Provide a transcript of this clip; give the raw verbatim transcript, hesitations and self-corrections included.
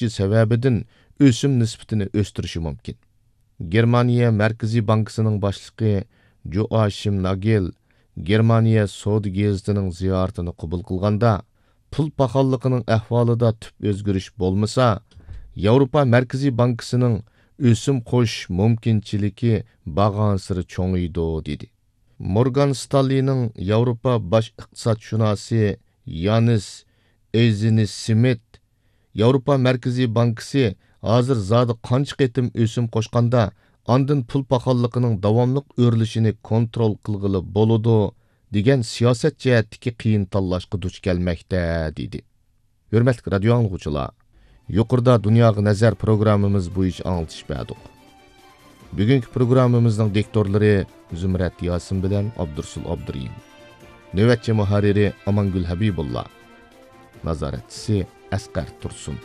كۈچى سەۋەبىدىن ئۆسۈم نىسبىتىنى ئۆستۈرۈشى مۇمكىن. گېرمانىيە مەركىزىي بانكىسىنىڭ باشلىقى جوئاشىم ناگېل گېرمانىيە سودا گېزىتىنىڭ زىيارىتىنى قوبۇل قىلغاندا، پۇل پاخاللىقىنىڭ ئەھۋالىدا تۈپ ئۆزگىرىش بولمىسا، ياۋروپا مەركىزىي بانكىسىنىڭ ئۆسۈم قوشۇش مۇمكىنچىلىكى بارغانسېرى چوڭىيىدۇ، دېدى. مورگان ستانلىنىڭ ياۋروپا باش ئىقتىسادشۇناسى يانىس ئېيزېنسمىت ياۋروپا مەركىزىي بانكىسى ھازىر زادى قانچە قېتىم ئۆسۈم قوشقاندا، ئاندىن پۇل پاخاللىقىنىڭ داۋاملىق ئۆرلىشىنى كونترول قىلغىلى بولىدۇ، دېگەن سىياسەت جەھەتتىكى قىيىن تاللاشقا دۇچ كەلمەكتە، دېدى. ھۆرمەتلىك رادىيو ئاڭلىغۇچىلار، يۇقىرىدا دۇنياغا نەزەر پروگراممىمىز بويىچە ئاڭلىتىش بەردۇق. بۈگۈنكى پروگراممىمىزنىڭ دىكتورلىرى زۇمرەت ياسىن بىلەن ئابدۇرسۇل ئابدۇرېھىم. نۆۋەتچى مۇھەررىرى ئامانگۈل ھەبىبۇللا. نازارەتچىسى ئەسقەر تۇرسۇن.